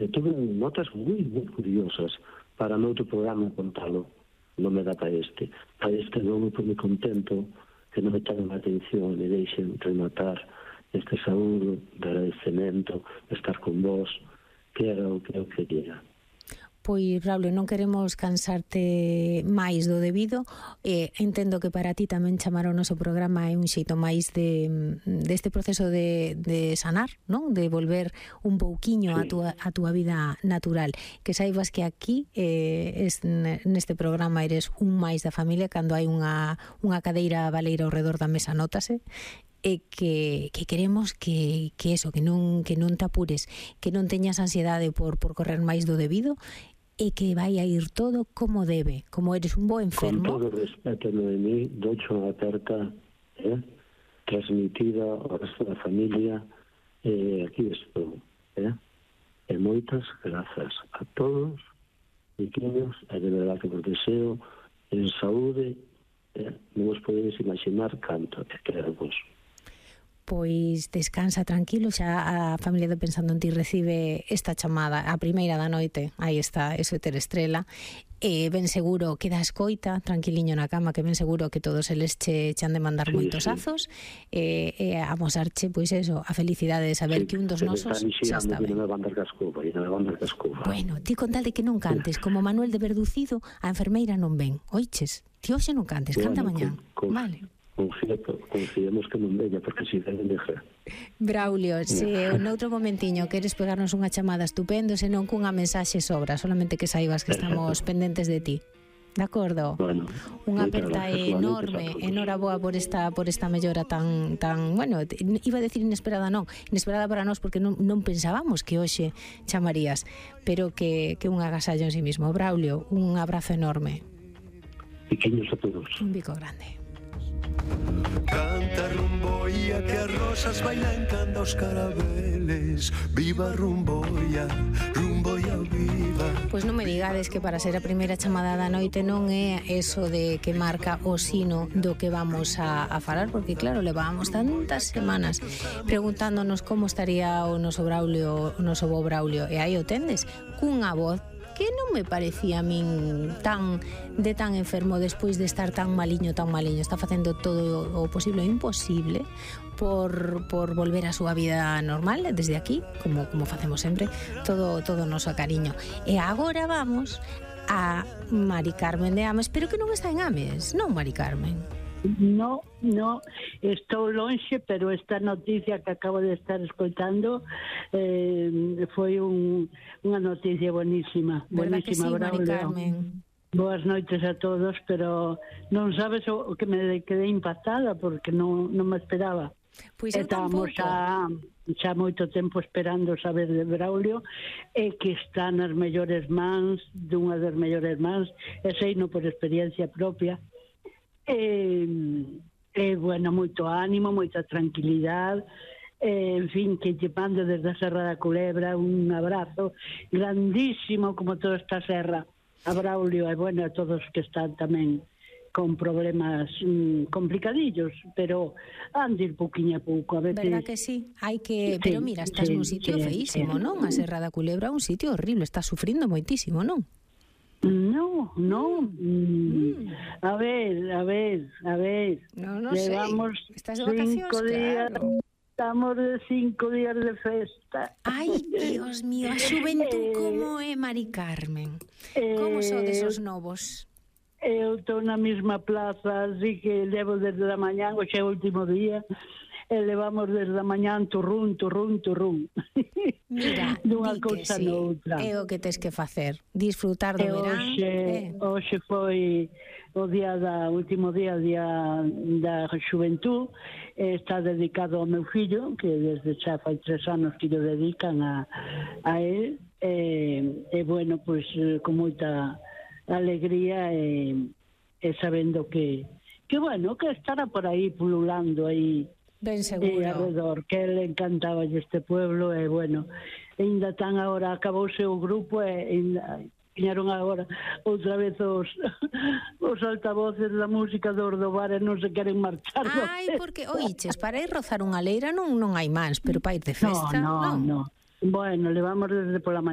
tuve notas moi curiosas para noutro programa contalo, non me dá para este. Para este non me pone contento que non me chamen a atención e deixen rematar este saúdo de agradecemento, de estar con vos, que era o que eu quería. Pois, Braulio, non queremos cansarte máis do debido. Entendo que para ti tamén chamar o noso programa é un xeito máis deste proceso de sanar, non? De volver un pouquiño a túa vida natural. Que saibas que aquí, neste programa, eres un máis da familia. Cando hai unha cadeira baleira ao redor da mesa, nótase. E que queremos que eso, que non te apures, que non teñas ansiedade por correr máis do debido, e que vai a ir todo como debe, como eres un bo enfermo. Con todo o respeto, Noemí, docho unha aperta transmitida ao resto da familia, aquí estou. E moitas grazas a todos, pequenos, e de verdade que vos deseo en saúde, non vos podedes imaginar canto, e quero vos. Pois descansa tranquilo, xa a familia de Pensando en Ti recibe esta chamada, a primeira da noite. Aí está, eso é Terestrela. Ben seguro que da escoita, tranquiliño na cama, que ben seguro que todos eles che han de mandar moitos azos, e amosarche, pois eso, a felicidade de saber que un dos nosos xa está ben. Bueno, ti con tal de que non cantes, como Manuel de Verducido, a enfermeira non ven. Oiches, ti hoxe non cantes, canta mañá. Vale. Confiemos que non veña, porque si deben dejar. Braulio, se noutro momentiño queres pegarnos unha chamada estupendo, senón cunha mensaxe sobra, solamente que saibas que estamos pendentes de ti. De acordo? Bueno, unha aperta enorme, enhoraboa por esta mellora tan, bueno, iba a decir inesperada para nós, porque non pensábamos que hoxe chamarías, pero que un agasallo en sí mismo. Braulio, un abrazo enorme. Pequeños a todos. Un bico grande. Canta rumboia que as rosas bailan cando os carabeles. Viva rumboia, rumboia viva. Pois non me digades que para ser a primeira chamada da noite non é eso de que marca o sino do que vamos a falar, porque claro, levábamos tantas semanas preguntándonos como estaría o noso Braulio, o noso bo Braulio, e aí o tendes, cunha voz que non me parecía a min tan enfermo despois de estar tan maliño. Está facendo todo o posible e imposible por volver a súa vida normal desde aquí, como facemos sempre, todo o noso cariño. E agora vamos a Mari Carmen de Ames, pero que non está en Ames, non, Mari Carmen? No, estou lonxe, pero esta noticia que acabo de estar escoitando foi unha noticia buenísima. Verdad que sí, Braulio. Mari Carmen? Boas noites a todos, pero non sabes o que me quedei impactada, porque non me esperaba. Pois eu tampouco. Xa moito tempo esperando saber de Braulio, e que está nas mellores mans, dunha das mellores mans, e seino por experiencia propia. Bueno, moito ánimo, moita tranquilidade, en fin, que lle mando desde a Serra da Culebra un abrazo grandísimo, como toda esta serra, a Braulio, e bueno, a todos que están tamén con problemas complicadillos, pero han de ir pouquiño a pouco, a veces. Verdad que sí? Pero mira, estás nun sitio feísimo, non? A Serra da Culebra é un sitio horrible, estás sufrindo moitísimo, non? No. A ver. No Llevamos sei. Estás de vacacións, claro. Estamos de 5 días de festa. Ai, Dios mío, a xuventud como é, Mari Carmen? Como son desos novos? Eu estou na mesma plaza, así que levo desde a mañán, hoxe é o último día, e levamos desde a mañán turrún. Mira, dunha cousa sí, noutra. É o que tes que facer, disfrutar do verán. Hoxe foi o último día da xuventud, está dedicado ao meu fillo, que desde xa fai 3 anos que o dedican a él, e bueno, pois con moita alegría e sabendo que bueno, que estará por aí pululando aí ben seguro alrededor, que ele encantaba este pueblo, e bueno, ainda tan agora acabouse o grupo e viñeron agora outra vez os altavoces da música do bar e non se queren marchar. Ai, porque, oiches, para ir rozar unha leira non hai mans, pero para ir de festa, no. Bueno, levamos desde pola mañá